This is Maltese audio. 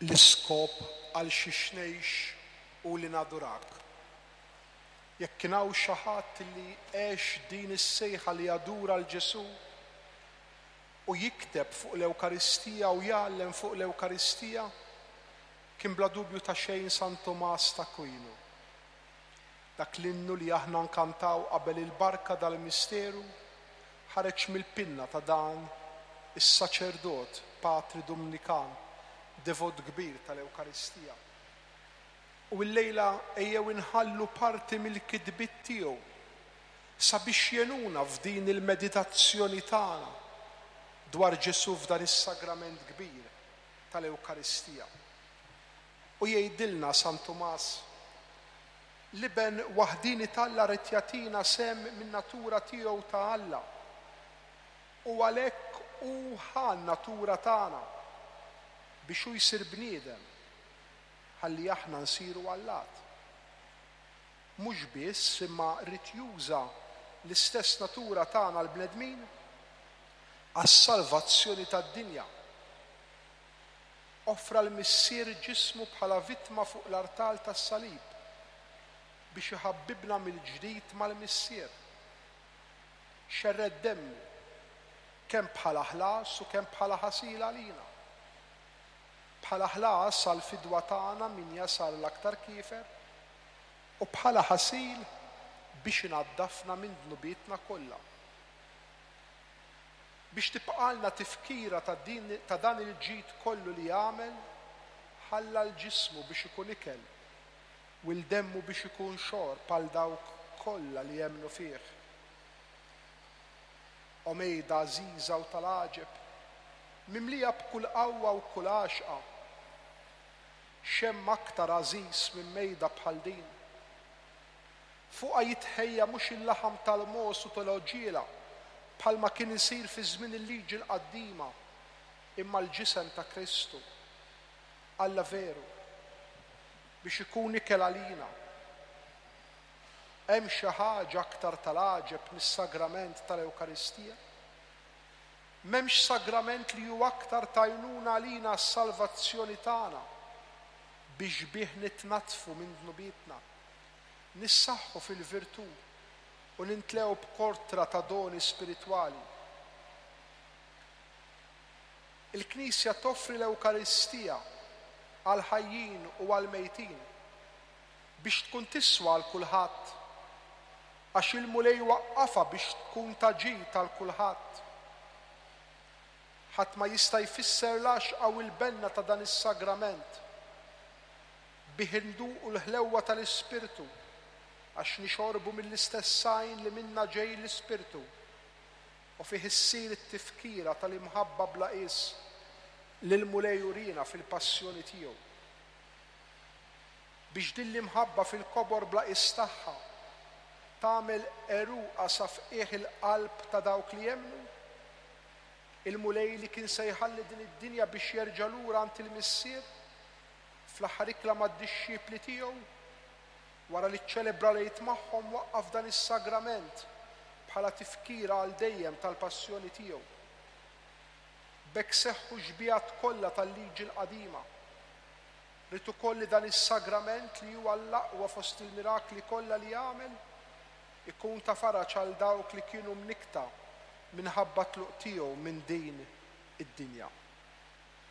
L-iskop għal xiex ngħix hu li nadurak. Jekk kien hawn xi ħadd li għex din is-sejħa li jadura 'l Ġesù u jikteb fuq l-Ewkaristija u jgħallem fuq l-Ewkaristija, kien bla dubju ta' xejn San Tumas t'Akwinu. Dak l-innu li aħna nkantaw qabel il-barka dal-misteru ħareġ mill-pinna ta' dan is-saċerdot, patri Dumnikan, devot kbir tal-Ewkaristija. U illejla ejjew inħallu parti mill-kitbiet tiegħu sabiex jgħinuna f'din il-meditazzjoni tagħna dwar Ġesù f'dan is-sagrament kbir tal-Ewkaristija. U jgħidilna San Tumas, L-Iben waħdieni t'Alla ried jagħtina sehem min-natura tiegħu ta' Alla, u għalhekk hu ħa n-natura tagħna biex hu jsir bniedem ħalli aħna nsiru allat. Mhux biss, imma ried juża l-istess natura tagħna l-bnedmin għas-salvazzjoni tad-dinja. Offra l-Missier ġismu bħala vittma fuq l-artal tas-salib biex iħabbibna mill-ġdid mal-Missier. Xerred demmu, kemm bħala ħlas u kemm bħala ħasil għalina. Bħala ħlas għall-fidwa tagħna min jasar l-aktar kiefer, u bħala ħasil biex inaddafna minn dnubietna kollha. Biex tibqgħalna tifkira ta' din ta' dan il-ġid kollu li għamel, ħalla l-ġismu biex ikun ikel u l-demmu biex ikun xorb għal dawk kollha li jemmnu fih. O mejda għażiża u tal-għaġeb, mimlija b'kull qawwa u kull għaxqa! X'hemm aktar għażiż minn mejda bħal din? Fuqha jitħejja mhux il-laħam tal-mogħoż u tal-għoġiela, bħalma kien isir fi żmien il-Liġi l-Qadima, imma l-ġisem ta' Kristu, Alla veru, biex ikun ikel għalina. Hemm xi ħaġa aktar tal-għaġeb mis-sagrament tal-Ewkaristija? M'hemmx sagrament li hu aktar t'għajnuna għalina għas-salvazzjoni tagħna, biex bih nitnaddfu minn dnubietna. Nissaħħu fil-virtù u nintlew b'kortra ta' doni spiritwali. Il-Knisja toffri l-Ewkaristija għall-ħajjin u għall-mejtin biex tkun tiswa għal kulħadd, għax il-Mulej waqqafha biex tkun ta' ġid għal kulħadd. Ħadd ma jista' jfisser l-għaxqa u l-benna ta' dan is-sagrament. Bih induqu l-ħlewwa tal-Ispirtu, għax nixorbu mill-istess għajn li minnha ġej l-Ispirtu, u fih issir it-tifkira tal-imħabba bla qies li l-Mulej uriena fil-passjoni tiegħu. Biex din l-imħabba fil-kobor bla qies tagħha tagħmel għeruqha sa f'qiegħ il-qalb ta' dawk li jemmnu, il-Mulej li kien se jħalli din id-dinja biex jerġa' lura għand il-Missier, Fl-aħħar ikla mad-dixxipli tiegħu, wara li ċċelebra l-Għid magħhom waqqaf dan is-sagrament bħala tifkira għal dejjem tal-passjoni tiegħu. B'hekk seħħu x-xbihat kollha tal-Liġi l-Qadima. Ried ukoll li dan is-sagrament li huwa l-aqwa fost il-mirakli kollha li għamel, ikun ta' faraġ għal dawk li kienu mnikkta minħabba t-tluq tiegħu minn din id-dinja.